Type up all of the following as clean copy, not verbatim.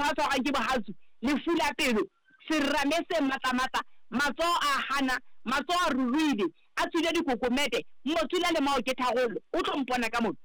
a tshwarwang ke bohatsu, lefu la pelo, serame se matlamatla, matsoho a hana, matsoho a ruruhile, a tswile dikokomete, motsula le mao ke tharollo. O tlo mpona ka mona.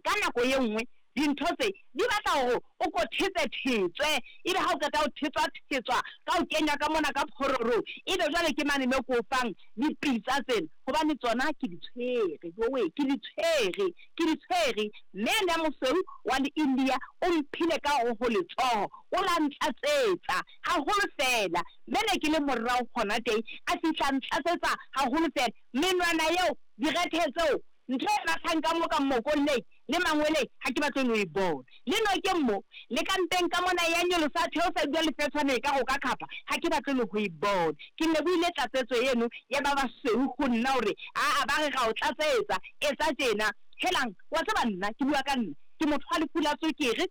Ka nako ye nngwe dintho tse di batla hore o ko thetse-thetswe, ebe ha o qeta ho thetswa-thetswa ka ho kenywa ka mona ka phororong, ebe jwale ke mane mo ke o fang dipitsa tsena, hobane tsona ke di tshwere, jowe, ke di tshwere, ke di tshwere. Mme ene ya mosweu wa le-India o mphile ka hare ho letsoho, o la ntlatsetsa haholo feela. Mme ne ke le morao hona teng, a fihla a ntlatsetsa haholo feela. Menwana eo, direthe tseo, Ntho e mathang ka mo ka mmokolleng le mangweleng ha ke batle le ho e bona. Le nokeng mo, le ka mpeng ka mona e a nyolosa a theosa e dula lefetshwane ekare o ka khapha, ha ke batle le ho e bona. Ke lebohile tlatsetso eno ya ba basweu ho nna hore aa ba re ra o tlatsetsa, etsa tjena. Helang, wa tseba nna, ke bua ka nna, ke motho wa lefu la tswekere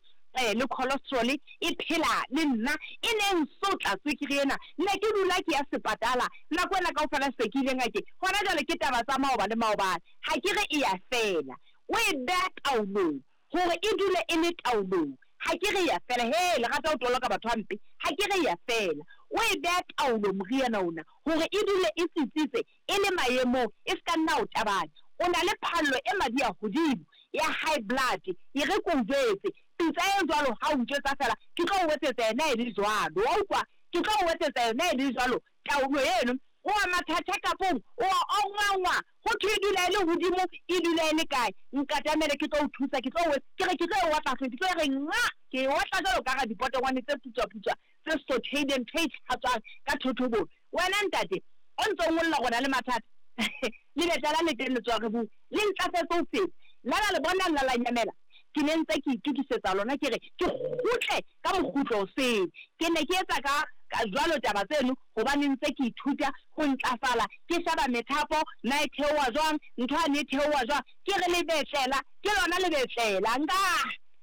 le cholesterol e phela le nna, e ne e nsotla tswekere ena. Ne ke dula ke ya sepatala nako ena kaofela se ke ile ngakeng. Hona jwale ke taba tsa maoba le maobane. Ha ke re e ya fela. O e beha taolong, hore e dule e le taolong. Ha ke re e ya fela. Hee, le rata ho toloka batho hampe. Ha ke re e ya fela. O e beha taolong moriana ona, hore e dule e tsitsitse, e le maemong, e se ka nna o tabanya. O na le phallo e madi a hodimo, ya high blood. E re ke o jwetse, pitsa e jwalo ha o ntjwetsa feela, ke tlo o etsetsa yona e le jwalo. Wa utlwa? Ke tlo o etsetsa yona e le jwalo. Taolo eno, o a matha check-up-ong, o a ongwangwa, ho thwe e dula e le hodimo, e dula e le kae? Nkatamele ke tlo o thusa, ke tlo o, ke re ke tlo e otla hlong, ke tlo e re nxa! Ke e otla jwalo ka radipotongwane tse putswa-putswa, tse sothehileng, ntho e itlhatswang ka thothobong. Wena ntate, o ntse o ngolla hore o na le mathata? Lebetla la le teng le tsoha re bue, le ntlafetse ho feta. La la le bona la la nyamela? Ke ne ntse ke itokisetsa lona ke re ke kgutle ka mokgutlo osele. Ke ne ke etsa ka ka jwalo taba tseno hobane ntse ke ithuta ho ntlafala, ke sheba methapo na e theoha jwang, ntho yane e theoha jwang. Ke re lebetlela, ke lona lebetlela, nka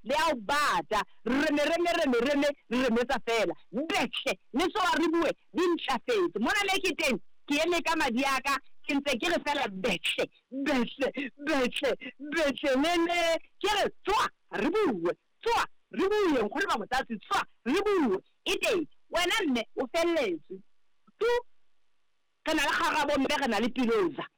le a o bata, reme reme reme reme, re remetsa feela. Betle, le tsoha re bue, di ntlafetse. Mona me ke teng, ke eme ka madi a ka, ke ntse ke re feela betle, betle, betle, betle, lele. Ke re tsoha re bue. Tsoa, re bue, nkgono ba Motlatsi, tsoa, re bue. E teng, wena mme, o felletswe. Tu! Re na le kgarabo mme re na le piloza.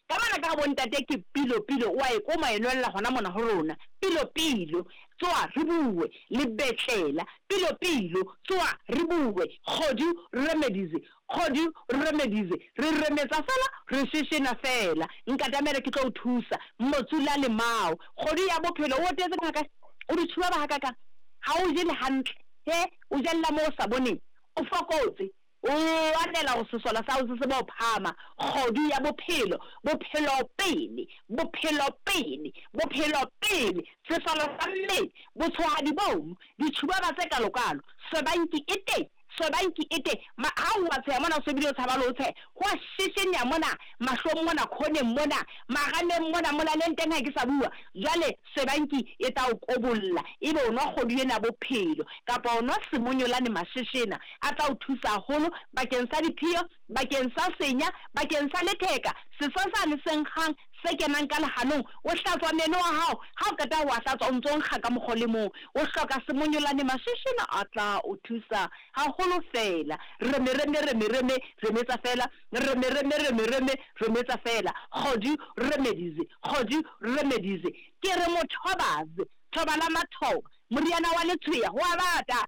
Ka mona ka bo ntate ke pilo pilo, o a e koma e nwella hona mona ho rona. Pilo pilo, tsoa, re bue. Lebetlela, pilo pilo, tsoa, re bue. Kgodu remedies, Kgodu remedies, re remetsa fela, re sheshena fela. Nkatamele ke tlo o thusa, Motsula Lemao. Kgodu ya bophelo, o otetse ngaka, o di tshubaba hakakang? Ha o je le hantle, he, o jella moo o sa boneng? O fokotse, o lwanela hore sesole sa hao se tsebe ho phahama. Kgodu ya bophelo, bophelo pele, bophelo pele, bophelo pele, sesole sa mmele, botshohadi bono, ditshubaba tse kalokalo, swebanki e teng. Swebanki e teng. Ma, ha o a tsheha mona, o se bile o tshaba le ho tsheha. Ho a sheshenyeha mona, mahlong mona, khoneng mona, marameng mona, molaleng teng ha ke sa bua. Jwale swebanki e tla o kobolla, ebe o nwa kgodu ena ya bophelo, kapa o nwa semonyolane masheshena. A tla o thusa haholo bakeng sa diphiyo, bakeng sa senya, bakeng sa letheka, seso sane se nkgang se kenang ka lehanong. O hlatswa meno a hao, ha o qeta ho a hlatswa o ntso nkga ka mokgwa o le mong. O hloka semonyolane masheshena a tla o thusa haholo feela. Reme reme reme reme remetsa feela, reme reme reme reme remetsa feela. Kgodu remedies, kgodu remedies. Ke re mothobaze, thoba la mathoba, moriana wa letshweya ho a bata.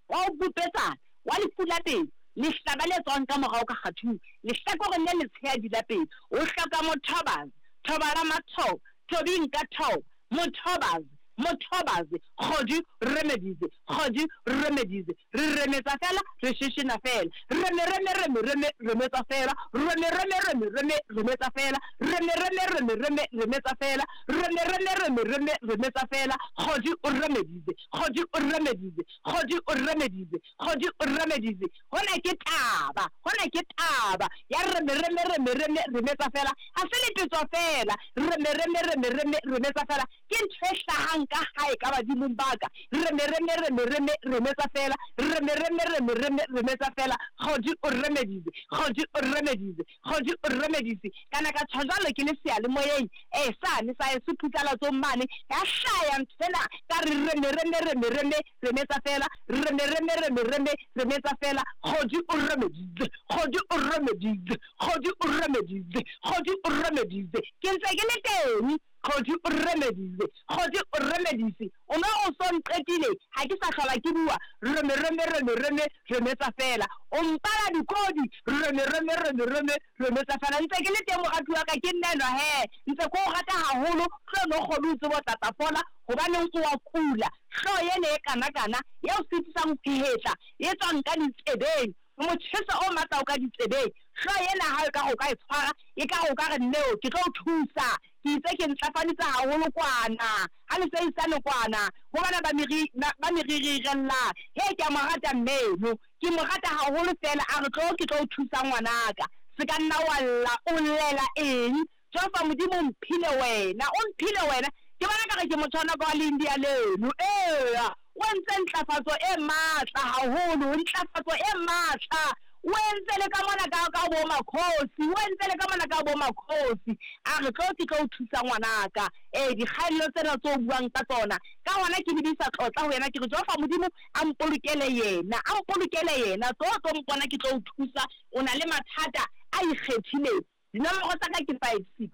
Wa ho bupetsana, wa lefu la pelo, lehlaba le tswang ka morao ka kgathung, lehlakoreng le letshehadi la pelo, o hloka mothobazi, thoba la mathoba, thobi nka thoba, mothobazi, mothobazi, kgodu remedies, kgodu remedies, re remetsa fela, re sheshena fela, reme reme reme reme remetsa fela, reme reme reme reme remetsa fela, reme reme reme reme remetsa fela, reme reme reme reme remetsa fela, kgodu remedies, kgodu remedies. Kgodi o remedize, Kgodi o remedize. Hona ke taba, hona ke taba ya reme, reme, reme, reme, remetsa fela. Ha se lepetso feela, reme, reme, reme, reme, remetsa fela. Ke ntho e hlahang ka hae ka badimong ba ka. Reme, reme, reme, reme, remetsa feela. Reme, reme, reme, reme, remetsa feela. Kgodi o remeditse, kgodi o remeditse, kgodi o remeditse. Ka na ka tjho jwalo ke le seyalemoyeng, ee, sane sa heso phutlalatsong mane. Ya hlaya nthwena, ka re reme, reme, reme, reme, remetsa feela. Reme, reme, reme, reme, remetsa feela. Kgodi o remeditse, kgodi o remeditse, kgodi o remeditse, kgodi o remeditse. Ke ntse ke le teng. Kgodi o remedise, kgodi o remedise, o no o so nqetile, ha ke sa hlola ke bua, reme reme reme reme remetsa feela, o mpala dikodi, reme reme reme reme remetsa feela, ntse ke le teng moratuwa wa ka, ke nna enwa hee, ntse ke o rata haholo, hlo no kgone o tsebe o tla tla fola, hobaneng o a kula, hlooho ena e kana kana, e o sitisang ho hetla, e tswang ka ditsebeng, motjheso o matla o ka ditsebeng, hlooho ena ha ekare o ka e tshwara, ekare o ka re nneo ke tlo o thusa, Ke itse ke ntlafalitse haholo kwana, ha le seisane kwana, ho bana ba meri, ba meririrellang. He, ke a mo rata mme eno. Ke mo rata haholo feela. A re, Tlo ke tlo o thusa, ngwanaka. Se ka nna wa lla. O llela eng? Jehova Modimo o mphile wena. O mphile wena. Ke bona ekare ke motjhonaka wa Leindia leno. Eya. O entse ntlafatso e matla haholo, ntlafatso e matla. O entse le ka mona ka, ka bo makhosi. O entse le ka mona ka bo makhosi. A re, Tlo ke tlo o thusa ngwanaka. Ee, dikgaello tsena tse o buang ka tsona. Ka hona ke lebisa tlotla ho yena, ke re, Jehova Modimo a mpolokele yena, a mpolokele yena. Tlo o tlo mpona ke tlo o thusa. O na le mathata a ikgethileng. Dinomoro tsa ka ke 5, 6,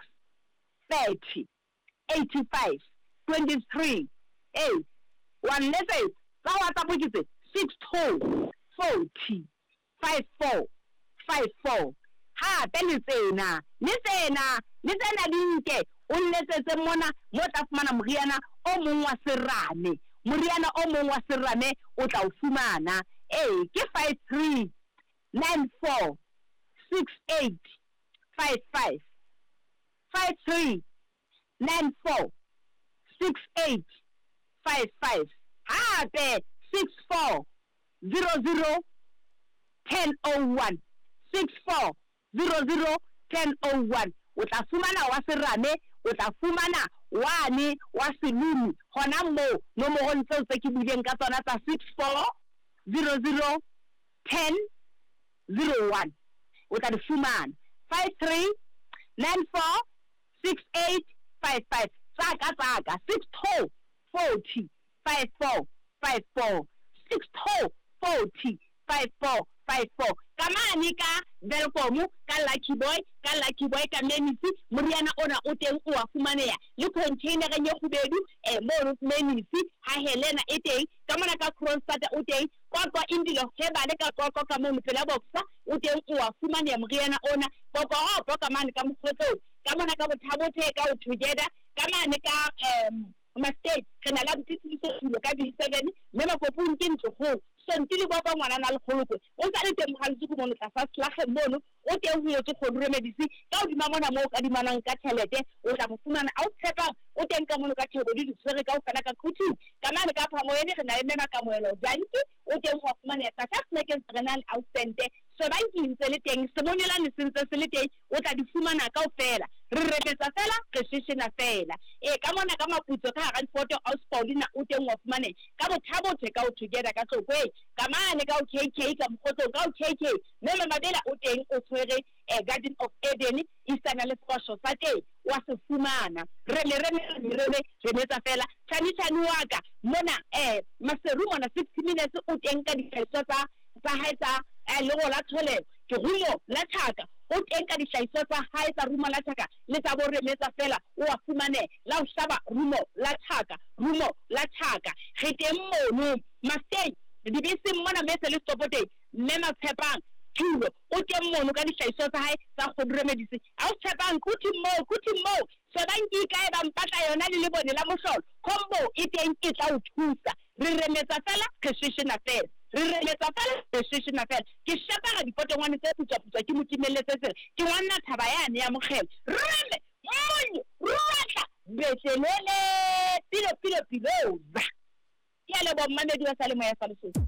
30. 85 23 ee wa nletsetsa tsa WhatsApp ke tse 62 40 54 54 hape le tsena le tsena le tsena di nke o nletsetse mona mo tla fumana moriana o mong wa serame moriana o mong wa serame o tla o fumana ee ke 53 94 68 55 53 94 68 55 hape 64 00 1001 64 00 1001 o tla fumana wa serame o tla fumana wane wa selumi hona moo nomorong tseo tse ke buileng ka tsona tsa 64 00 10 01 o tla di fumana 53 94 68 55 tsa ka tsa ka 62 40 54 54 62 40 54 54 ka mane ka Welkom ka Lucky Boy ka Lucky Boy ka Menisi moriana ona o teng o a fumaneha le container-eng e kgubedu eh mono Menisi ha Helena e teng ka mona ka Kroonstad o teng Qwaqwa Indilo Hebale ka Qwaqwa ka mono pela Boxer o teng oa fumaneha moriana ona. Kokoropo ka mane ka Mokgotlong ka mona ka Bothabothe ka o Together ka mane ka Masteng re na le abuti Tseliso Tulo ka B7 mme Makopung ke ntlo kgolo. Sonti Lebopo ngwanana Lekgolokwe o sa le teng Mohalesuku mono tlasa Slageng mono o teng ho etswe Kgodu Remedisi ka hodima mona moo o kadimanang ka tjhelete o tla mo fumana a o tshepang o teng ka mono ka theko di di tshwere kaofela ka Quthing ka mane ka Phamoyene re na le Mme Makamohelo Janki o teng ho a fumaneha tlasa Snackens re na le Ausente Swebanki ntse le teng Semonyolane se ntse se le teng o tla di fumana kaofela re remetsa fela re sheshena fela ee ka mona ka Maputso ka hara difoto Aus Paulina o teng wa fumaneha ka Bothabothe ka o Together ka Tlokweng ka mane ka o KK ka Mokgotlong ka o KK Mme Mamabela o teng o tshwere Garden of Eden isana le sefahlo sa teng wa se fumana. Reme reme reme reme remetsa fela. Chani chani wa ka mona Maseru mona 60 minutes o teng ka dihlahiswa tsa tsa hae tsa lero la tlholeho ke rumo la thaka o teng ka dihlahiswa tsa hae tsa rumo la thaka le tsa bo remetsa fela o a fumaneha la ho hlaba rumo la thaka rumo la thaka re teng mono Masteng dibeseng mona mese le setopo teng Mme Matshepang Thulo o teng mono ka dihlahiswa tsa hae tsa kgodu remedise. Ausi Tshepang, Quthing moo, Quthing moo, Shebang ke ikae ba mpatla yona le lebone la mohlolo. Combo e teng e tla o thusa. Re remetsa fela, re sheshena fela. Re remetsa fela, re sheshena fela. Ke shapara dipotongwane tse putswaputswa ke mo timelletse tsela. Ke ngwanna thaba yane ya mokgele. Reme, monyo, ruatla, betlelele, pilo pilo piloza. Ke a leboha mmamedi wa Salemoya sa Lesotho.